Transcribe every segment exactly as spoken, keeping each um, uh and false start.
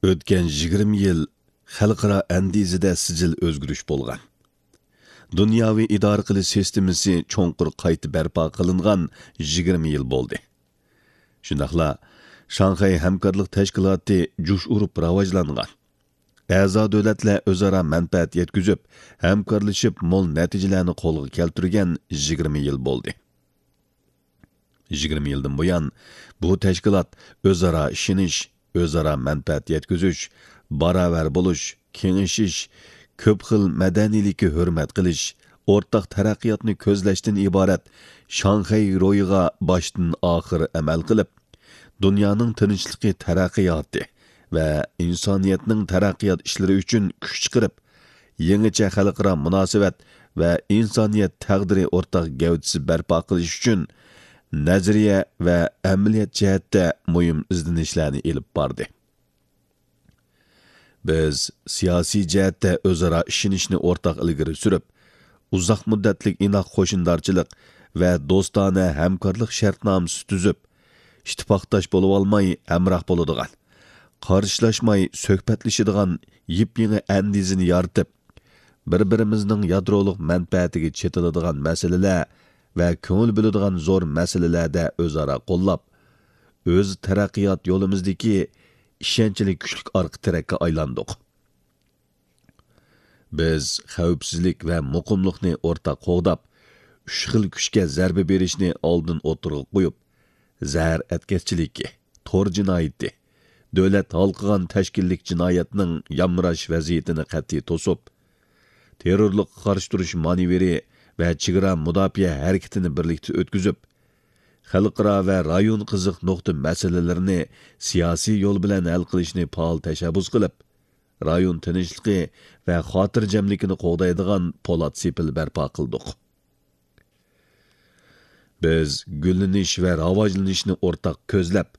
ئۆتكەن يىگىرمە يىل خەلقئارا ئەندىزىدە سىجىل ئۆزگىرىش بولغان. دۇنياۋى ئىدارە قىلىش سىستېمىسى چوڭقۇر قايتا بەرپا قىلىنغان يىگىرمە يىل بولدى. شۇنداقلا شاڭخەي ھەمكارلىق تەشكىلاتى جۇش ئۇرۇپ راۋاجلانغان. ئەزا دۆلەتلەر ئۆزئارا مەنپەئەت يەتكۈزۈپ، ھەمكارلىشىپ مول نەتىجىلەرنى قولغا كەلتۈرگەن يىگىرمە يىل بولدى. يىگىرمە يىلدىن بۇيان، بۇ تەشكىلات ئۆزئارا ئىشىنىش، ئۆزئارا مەنپەئەت يەتكۈزۈش، باراۋەر بولۇش، كېڭىشىش، كۆپ خىل مەدەنىيلىككە ھۆرمەت قىلىش، ئورتاق تەرەققىياتنى كۆزلەشتىن ئىبارەت شاڭخەي روھىغا باشتىن ئاخىر ئەمەل قىلىپ، دۇنيانىڭ تىنچلىقى، تەرەققىياتى ۋە ئىنسانىيەتنىڭ تەرەققىيات ئىشلىرى ئۈچۈن كۈچ چىقىرىپ، يېڭىچە خەلقئارا مۇناسىۋەت ۋە ئىنسانىيەت تەقدىرى ئورتاق گەۋدىسى بەرپا قىلىش ئۈچۈن نەزەرىيە ۋە ئەمەلىيەت جەھەتتە مۇھىم ئىزدىنىشلەرنى ئېلىپ باردى. بىز سىياسىي جەھەتتە ئۆزئارا ئىشىنىشنى ئورتاق ئىلگىرى سۈرۈپ، ئۇزاق مۇددەتلىك ئىناق قوشنىدارچىلىق ۋە دوستانە ھەمكارلىق شەرتنامىسى تۈزۈپ، ئىتتىپاقداش بولۇۋالماي ھەمراھ بولىدىغان، قارشىلاشماي سۆھبەتلىشىدىغان يېپيېڭى ئەندىزىنى يارىتىپ، بىر-بىرىمىزنىڭ يادرولۇق مەنپەئەتىگە چېتىلىدىغان مەسىلىلەر ۋە كۆڭۈل بۆلىدىغان زور مەسىلىلەردە ئۆزئارا قوللاپ، ئۆز تەرەققىيات يولىمىزدىكى ئىشەنچلىك كۈچلۈك ئارقا تىرەككە ئايلاندۇق. بىز خەۋپسىزلىك ۋە مۇقىملىقنى ئورتاق قوغداپ، ئۈچ خىل كۈچكە زەربە بېرىشنى ئالدىن ئوتتۇرىغا قويۇپ، زەھەر ئەتكەسچىلىكى، تور جىنايىتى، دۆلەت ھالقىغان تەشكىللىك جىنايەتنىڭ يامراش ۋەزىيىتىنى قەتئىي توسۇپ، تېررورلۇققا قارشى تۇرۇش مانېۋىرى ۋە چېگرا مۇداپىئە ھەرىكىتىنى بىرلىكتە ئۆتكۈزۈپ، خەلقئارا ۋە رايون قىزىق نۇقتا مەسىلىلىرىنى سىياسىي يول بىلەن ھەل قىلىشنى پائال تەشەببۇس قىلىپ، رايون تىنچلىقى ۋە خاتىرجەملىكىنى قوغدايدىغان پولات سېپىل بەرپا قىلدۇق. بىز گۈللىنىش ۋە راۋاجلىنىشنى ئورتاق كۆزلەپ،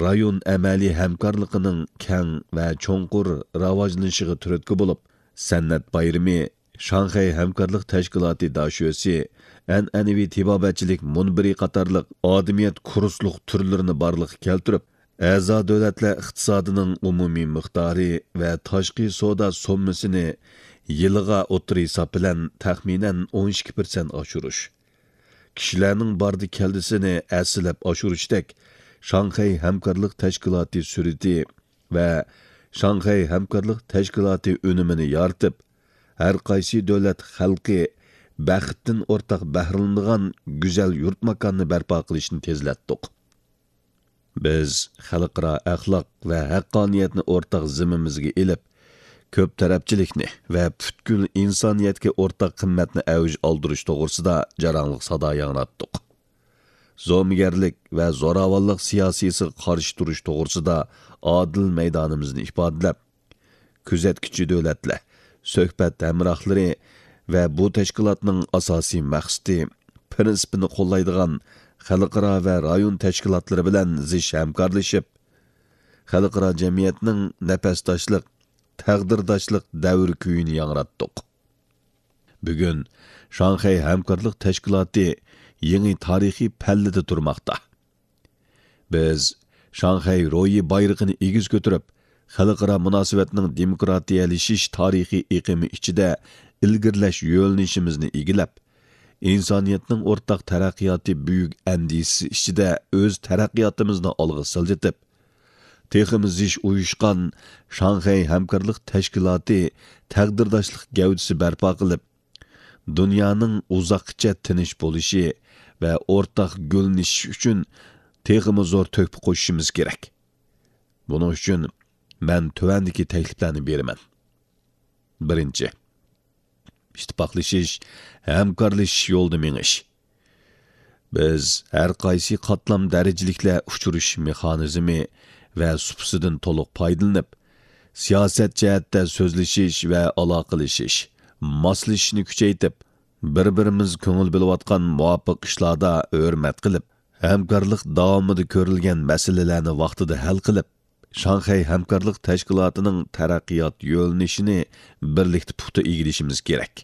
رايون ئەمەلىي ھەمكارلىقىنىڭ كەڭ ۋە چوڭقۇر راۋاجلىنىشىغا تۈرتكە بولۇپ، سەنئەت بايرىمى، شاڭخەي ھەمكارلىق تەشكىلاتى داشۆسى، ئەنئەنىۋى تېبابەتچىلىك مۇنبىرى قاتارلىق ئادىمىيەت كۇرسلۇق تۈرلىرىنى بارلىققا كەلتۈرۈپ، ئەزا دۆلەتلەر ئىقتىسادىنىڭ ئومۇمىي مىقدارى ۋە تاشقى سودا سوممىسىنى يىلىغا ئوتتۇرا ھېساب بىلەن تەخمىنەن ئون ئىككى پىرسەنت ئاشۇرۇش، كىشىلەرنىڭ باردى كەلدىسىنى ھەسسىلەپ ئاشۇرۇشتەك شاڭخەي ھەمكارلىق تەشكىلاتى سۈرىتى ۋە شاڭخەي ھەمكارلىق تەشكىلاتى ئۈنۈمىنى يارىتىپ، ھەر قايسى دۆلەت خەلقى بەختتىن ئورتاق بەھرىلىنىدىغان گۈزەل يۇرت ماكاننى بەرپا قىلىشنى تېزلەتتۇق. بىز خەلقئارا ئەخلاق ۋە ھەققانىيەتنى ئورتاق زىممىمىزگە ئېلىپ، كۆپ تەرەپچىلىكنى ۋە پۈتكۈل ئىنسانىيەتكە ئورتاق قىممەتنى ئەۋج ئالدۇرۇش توغرىسىدا جاراڭلىق سادا ياڭراتتۇق. زومىگەرلىك ۋە زوراۋانلىق سىياسىيسىغا قارشى تۇرۇش توغرىسىدا ئادىل مەيدانىمىزنى ئىپادىلەپ، كۆزەتكۈچى دۆلەتلەر، سۆھبەت ھەمراھلىرى ۋە بۇ تەشكىلاتنىڭ ئاساسىي مەقسىتى، پىرىنسىپىنى قوللايدىغان خەلقئارا ۋە رايون تەشكىلاتلىرى بىلەن زىچ ھەمكارلىشىپ، خەلقئارا جەمئىيەتنىڭ نەپەسداشلىق، تەقدىرداشلىق دەۋر كۈيىنى ياڭراتتۇق. بۈگۈن شاڭخەي ھەمكارلىق تەشكىلاتى يېڭى تارىخىي پەللىدە تۇرماقتا. بىز شاڭخەي روھى بايرىقىنى ئېگىز كۆتۈرۈپ، خەلقئارا مۇناسىۋەتنىڭ دېموكراتىيەلىشىش تارىخىي ئېقىمى ئىچىدە ئىلگىرىلەش يۆنىلىشىمىزنى ئىگىلەپ، ئىنسانىيەتنىڭ ئورتاق تەرەققىياتى بۈيۈك ئەندىزىسى ئىچىدە ئۆز تەرەققىياتىمىزنى ئالغا سىلجىتىپ، تېخىمۇ زىچ ئۇيۇشقان شاڭخەي ھەمكارلىق تەشكىلاتى تەقدىرداشلىق گەۋدىسى بەرپا قىلىپ، دۇنيانىڭ ئۇزاققىچە تىنچ بولۇشى ۋە ئورتاق گۈللىنىشى ئۈچۈن تېخىمۇ زور تۆھپە قوشۇشىمىز كېرەك. بۇنىڭ ئۈچۈن مەن تۆۋەندىكى تەكلىپلەرنى بېرىمەن. بىرىنچى، ئىتتىپاقلىشىش، ھەمكارلىشىش يولىدا مېڭىش. بىز ھەر قايسى قاتلام دەرىجىلىكلەر ئۇچرىشىش مېخانىزمى ۋە سۇپىسىدىن تولۇق پايدىلىنىپ، سىياسەت جەھەتتە سۆزلىشىش ۋە ئالاقىلىشىش، ماسلىشىشنى كۈچەيتىپ، بىر-بىرىمىز كۆڭۈل بۆلۈۋاتقان مۇۋاپىق ئىشلاردا ھۆرمەت قىلىپ، ھەمكارلىق داۋامىدا كۆرۈلگەن مەسىلىلەرنى ۋاقتىدا ھەل قىلىپ، شاڭخەي ھەمكارلىق تەشكىلاتىنىڭ تەرەققىيات يۆنىلىشىنى بىرلىكتە پۇختا ئىگىلىشىمىز كېرەك.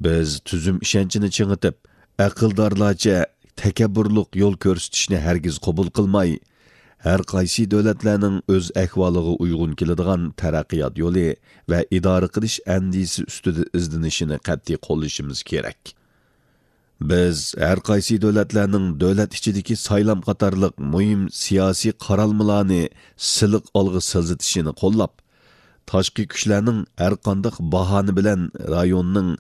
بىز تۈزۈم ئىشەنچىنى چىڭىتىپ، ئەقىلدارلارچە تەكەببۇرلۇق يول كۆرسىتىشنى ھەرگىز قوبۇل قىلماي، ھەر قايسى دۆلەتلەرنىڭ ئۆز ئەھۋالىغا ئۇيغۇن كېلىدىغان تەرەققىيات يولى ۋە ئىدارە قىلىش ئەندىزىسى ئۈستىدە ئىزدىنىشىنى قەتئىي قوللىشىمىز كېرەك. بىز ھەر قايسى دۆلەتلەرنىڭ دۆلەت ئىچىدىكى سايلام قاتارلىق مۇھىم سىياسىي قارالمىلارنى سىلىق ئالغا سىلجىتىشىنى قوللاپ، تاشقى كۈچلەرنىڭ ھەرقانداق باھانە بىلەن رايوننىڭ،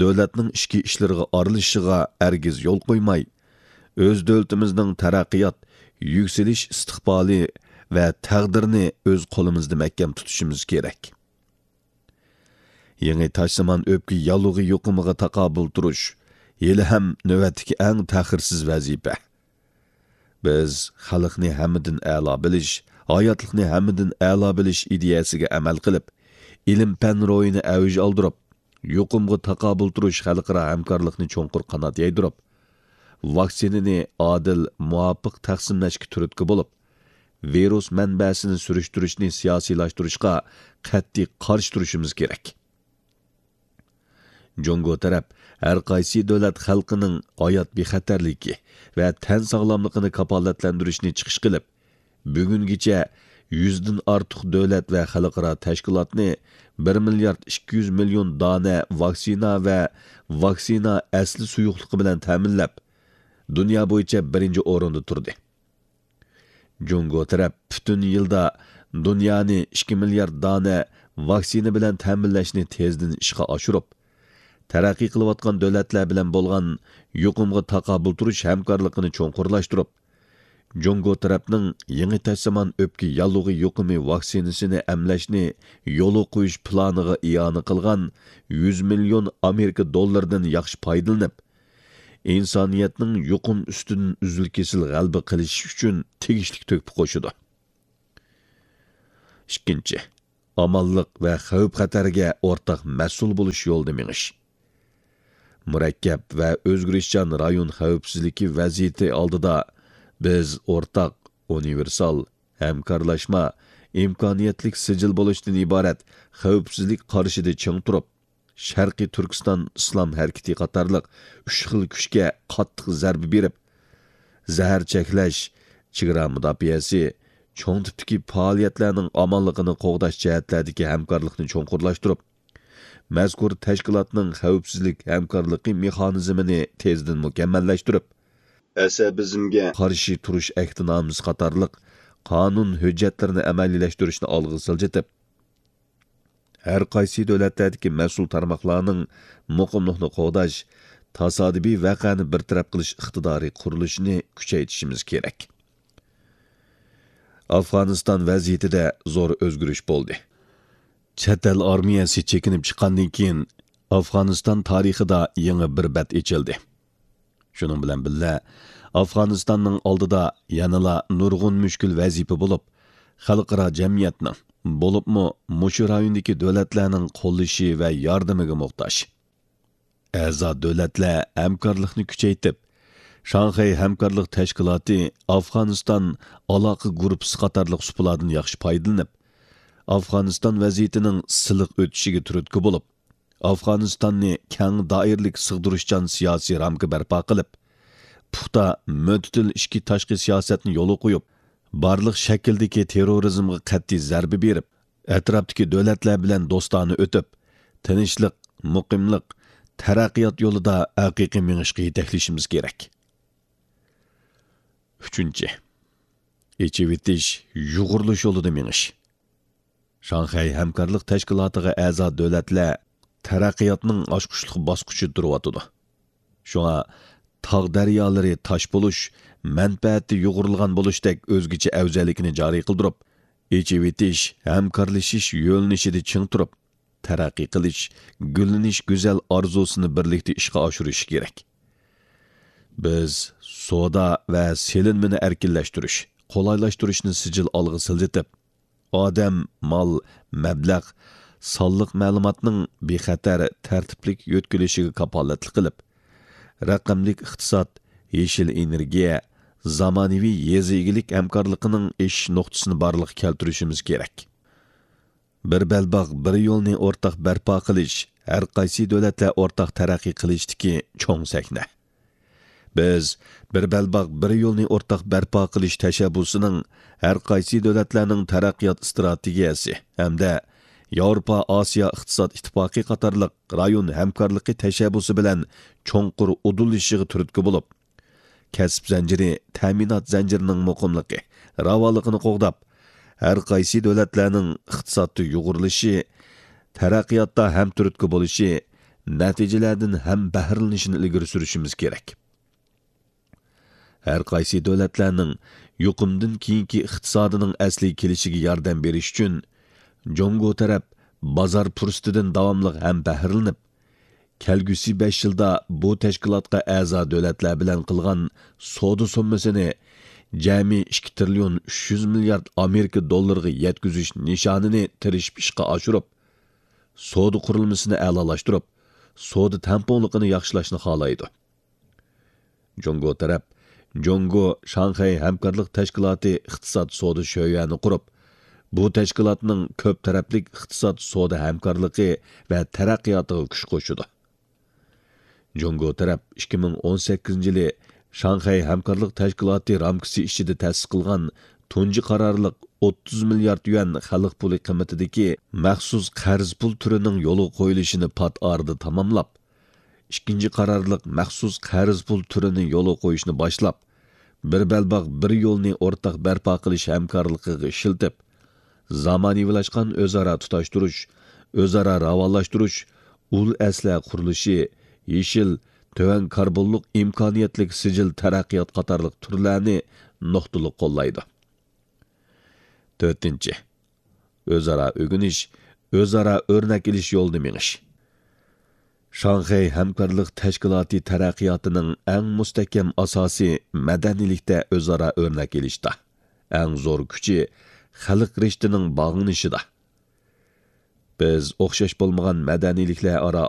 دۆلەتنىڭ ئىچكى ئىشلىرىغا ئارىلىشىشىغا ھەرگىز يول قويماي، ئۆز دۆلىتىمىزنىڭ تەرەققىيات، يۈكسىلىش ئىستىقبالى ۋە تەقدىرىنى ئۆز قولىمىزدا مەھكەم تۇتۇشىمىز كېرەك. يېڭى تاشزامان ئۆپكە ياللۇغى يۇقۇمىغا تاقابىل تۇرۇش ھېلىھەم نۆۋەتتىكى ئەڭ تەخىرسىز ۋەزىپە. بىز خەلقنى ھەممىدىن ئەلا بىلىش، ھاياتلىقنى ھەممىدىن ئەلا بىلىش ئىدىيەسىگە ئەمەل قىلىپ، ئىلىم-پەن روھىنى ئەۋج ئالدۇرۇپ، يۇقۇمغا تاقابىل تۇرۇش خەلقئارا ھەمكارلىقنى چوڭقۇر قانات يايدۇرۇپ، ۋاكسىنىنى ئادىل، مۇۋاپىق تەقسىملەشكە تۈرتكە بولۇپ، ۋىرۇس مەنبەسىنى سۈرۈشتۈرۈشنى سىياسىيلاشتۇرۇشقا قەتئىي قارشى تۇرۇشىمىز كېرەك. جۇڭگو تەرەپ ھەر قايسى دۆلەت خەلقىنىڭ ھايات بىخەتەرلىكى ۋە تەن ساغلاملىقىنى كاپالەتلەندۈرۈشنى چىقىش قىلىپ، بۈگۈنگىچە يۈزدىن ئارتۇق دۆلەت ۋە خەلقئارا تەشكىلاتنى بىر مىليارد ئىككى يۈز مىليون دانە ۋاكسىنا ۋە ۋاكسىنا ئەسلى سۇيۇقلۇقى بىلەن تەمىنلەپ، دۇنيا بويىچە بىرىنچى ئورۇندا تۇردى. جۇڭگو تەرەپ پۈتۈن يىلدا دۇنيانى ئىككى مىليارد دانە ۋاكسىنا بىلەن تەمىنلەشنى تېزدىن ئىشقا ئاشۇرۇپ، تەرەققىي قىلىۋاتقان دۆلەتلەر بىلەن بولغان يۇقۇمغا تاقابىل تۇرۇش ھەمكارلىقىنى چوڭقۇرلاشتۇرۇپ، جۇڭگو تەرەپنىڭ يېڭى تاشزامان ئۆپكە ياللۇغى يۇقۇمى ۋاكسىنىسىنى ئەملەشنى يولغا قويۇش پىلانىغا ئىئانە قىلغان يۈز مىليون ئامېرىكا دوللىرىدىن ياخشى پايدىلىنىپ، ئىنسانىيەتنىڭ يۇقۇم ئۈستىدىن ئۈزۈل-كېسىل غەلىبە قىلىشى ئۈچۈن تېگىشلىك تۆھپە قوشىدۇ. ئىككىنچى، ئامانلىق ۋە خەۋپ-خەتەرگە ئورتاق مەسئۇل بولۇش يولىدا مېڭىش. مۇرەككەپ ۋە ئۆزگىرىشچان رايون خەۋپسىزلىكى ۋەزىيىتى ئالدىدا بىز ئورتاق، ئۇنىۋېرسال، ھەمكارلاشما، ئىمكانىيەتلىك سىجىل بولۇشتىن ئىبارەت خەۋپسىزلىك قارىشىدا چىڭ تۇرۇپ، شەرقىي تۈركىستان ئىسلام ھەرىكىتى قاتارلىق ئۈچ خىل كۈچكە قاتتىق زەربە بېرىپ، زەھەر چەكلەش، چېگرا مۇداپىئەسى، چوڭ تىپتىكى پائالىيەتلەرنىڭ ئامانلىقىنى قوغداش جەھەتلەردىكى ھەمكارلىقنى چوڭقۇرلاشتۇرۇپ، مەزكۇر تەشكىلاتنىڭ خەۋپسىزلىك ھەمكارلىقى مېخانىزمىنى تېزدىن مۇكەممەللەشتۈرۈپ، ئەسەبىزمگە قارشى تۇرۇش ئەھدىنامىسى قاتارلىق قانۇن ھۆججەتلىرىنى ئەمەلىيلەشتۈرۈشنى ئالغا سىلجىتىپ، ھەر قايسى دۆلەتلەردىكى مەسئۇل تارماقلارنىڭ مۇقىملىقنى قوغداش، تاسادىپىي ۋەقەنى بىر تەرەپ قىلىش ئىقتىدارى قۇرۇلۇشىنى كۈچەيتىشىمىز كېرەك. ئافغانىستان ۋەزىيىتىدە زور ئۆزگىرىش بولدى. چەت ئەل ئارمىيەسى چېكىنىپ چىققاندىن كېيىن، ئافغانىستان تارىخىدا يېڭى بىر بەت ئېچىلدى. شۇنىڭ بىلەن بىللە، ئافغانىستاننىڭ ئالدىدا يەنىلا نۇرغۇن مۈشكۈل ۋەزىپە بولۇپ، خەلقئارا جەمئىيەتنىڭ، بولۇپمۇ مۇشۇ رايوندىكى دۆلەتلەرنىڭ قوللىشى ۋە ياردىمىگە موھتاج. ئەزا دۆلەتلەر ھەمكارلىقنى كۈچەيتىپ، شاڭخەي ھەمكارلىق تەشكىلاتى ئافغانىستان ئالاقە گۇرۇپپىسى قاتارلىق سۇپىلاردىن ياخشى پايدىلىنىپ، ئافغانىستان ۋەزىيىتىنىڭ سىلىق ئۆتۈشىگە تۈرتكە بولۇپ، ئافغانىستاننى كەڭ دائىرىلىك سىغدۇرۇشچان سىياسىي رامكا بەرپا قىلىپ، پۇختا، مۆتىدىل ئىچكى تاشقى سىياسەتنى يولغا قويۇپ، بارلىق شەكىلدىكى تېررورىزمغا قەتئىي زەربە بېرىپ، ئەتراپتىكى دۆلەتلەر بىلەن دوستانە ئۆتۈپ، تىنچلىق، مۇقىملىق، تەرەققىيات يولىدا ھەقىقىي مېڭىشقا يېتەكلىشىمىز كېرەك. ئۈچىنچى، ئېچىۋېتىش، يۇغۇرۇلۇش يولىدا مېڭىش. شاڭخەي ھەمكارلىق تەشكىلاتىغا ئەزا دۆلەتلەر تەرەققىياتنىڭ ئاچقۇچلۇق باسقۇچىدا تۇرۇۋاتىدۇ. شۇڭا تاغ دەريالىرى تاش بولۇش، مەنپەئەتتە يۇغۇرۇلغان بولۇشتەك ئۆزگىچە ئەۋزەللىكىنى جارى قىلدۇرۇپ، ئېچىۋېتىش، ھەمكارلىشىش يۆنىلىشىدا چىڭ تۇرۇپ، تەرەققىي قىلىش، گۈللىنىش گۈزەل ئارزۇسىنى بىرلىكتە ئىشقا ئاشۇرۇش كېرەك. بىز سودا ۋە سېلىنمىنى ئەركىنلەشتۈرۈش، قولايلاشتۇرۇشنى سىجىل ئالغا سىلجىتىپ، ئادەم، مال، مەبلەغ، سانلىق مەلۇماتنىڭ بىخەتەر، تەرتىپلىك يۆتكىلىشىگە كاپالەتلىك قىلىپ، رەقەملىك ئىقتىساد، يېشىل ئېنېرگىيە، زامانىۋى يېزا ئىگىلىك ھەمكارلىقىنىڭ ئېشىش نۇقتىسىنى بارلىققا كەلتۈرۈشىمىز كېرەك. بىر بەلباغ، بىر يولنى ئورتاق بەرپا قىلىش، ھەر قايسى دۆلەتلەر ئورتاق تەرەققىي قىلىشتىكى چوڭ سەھنە. بىز بىر بەلباغ، بىر يولنى ئورتاق بەرپا قىلىش تەشەببۇسىنىڭ ھەر قايسى دۆلەتلەرنىڭ تەرەققىيات ئىستراتېگىيەسى ھەمدە ياۋروپا ئاسىيا ئىقتىساد ئىتتىپاقى قاتارلىق رايون ھەمكارلىقى تەشەببۇسى بىلەن چوڭقۇر ئۇدۇللىشىشىغا تۈرتكە بولۇپ، كەسىپ زەنجىرى، تەمىنات زەنجىرىنىڭ مۇقىملىقى، راۋانلىقىنى قوغداپ، ھەر قايسى دۆلەتلەرنىڭ ئىقتىسادتا يۇغۇرۇلۇشى، تەرەققىياتتا ھەم تۈرتكە بولۇشى، نەتىجىلەردىن ھەم بەھرىلىنىشىنى ئىلگىرى سۈرۈشىمىز كېرەك. ھەر قايسى دۆلەتلەرنىڭ يۇقۇمدىن كېيىنكى ئىقتىسادىنىڭ ئەسلىگە كېلىشىگە ياردەم بېرىش ئۈچۈن، جۇڭگو تەرەپ بازار پۇرسىتىدىن داۋاملىق ھەم بەھرىلىنىپ، كەلگۈسى بەش يىلدا بۇ تەشكىلاتقا ئەزا دۆلەتلەر بىلەن قىلغان سودا سوممىسىنى جەمئىي ئىككى تىرىليون ئۈچ يۈز مىليارد ئامېرىكا دوللىرىغا يەتكۈزۈش نىشانىنى تىرىشىپ ئىشقا ئاشۇرۇپ، سودا قۇرۇلمىسىنى ئەلالاشتۇرۇپ، سودا تەڭپۇڭلۇقىنى ياخشىلاشنى خالايدۇ. جۇڭگو تەرەپ جۇڭگو شاڭخەي ھەمكارلىق تەشكىلاتى ئىقتىساد سودا شۆيۈەنى قۇرۇپ، بۇ تەشكىلاتنىڭ كۆپ تەرەپلىك ئىقتىساد سودا ھەمكارلىقى ۋە تەرەققىياتىغا كۈچ قوشىدۇ. جۇڭگو تەرەپ ئىككى مىڭ ئون سەككىزىنچى يىلى شاڭخەي ھەمكارلىق تەشكىلاتى رامكىسى ئىچىدە تەسىس قىلغان تۇنجى قارارلىق ئوتتۇز مىليارد يۈەن خەلق پۇلى قىممىتىدىكى مەخسۇس قەرز پۇل تۈرىنىڭ يولغا قويۇلۇشىنى پات ئارىدا تاماملاپ، ئىككىنچى قارارلىق مەخسۇس قەرز پۇل تۈرىنى يولغا قويۇشنى باشلاپ، بىر بەلباغ، بىر يولنى ئورتاق بەرپا قىلىش ھەمكارلىقىغا ئىشلىتىپ، زامانىۋىلاشقان ئۆزئارا تۇتاشتۇرۇش، ئۆزئارا راۋانلاشتۇرۇش، ئۇل ئەسلىھە قۇرۇلۇشى، يېشىل، تۆۋەن كاربونلۇق ئىمكانىيەتلىك سىجىل تەرەققىيات قاتارلىق تۈرلەرنى نۇقتىلىق قوللايدۇ. تۆتىنچى، ئۆزئارا ئۆگىنىش، ئۆزئارا ئۆرنەك ئېلىش يولىدا مېڭىش. شاڭخەي ھەمكارلىق تەشكىلاتى تەرەققىياتىنىڭ ئەڭ مۇستەھكەم ئاساسى مەدەنىيلىكتە ئۆزئارا ئۆرنەك ئېلىشتا، ئەڭ زور كۈچى خەلق رىشتىنىڭ باغلىنىشىدا. بىز ئوخشاش بولمىغان مەدەنىيلىكلەر ئارا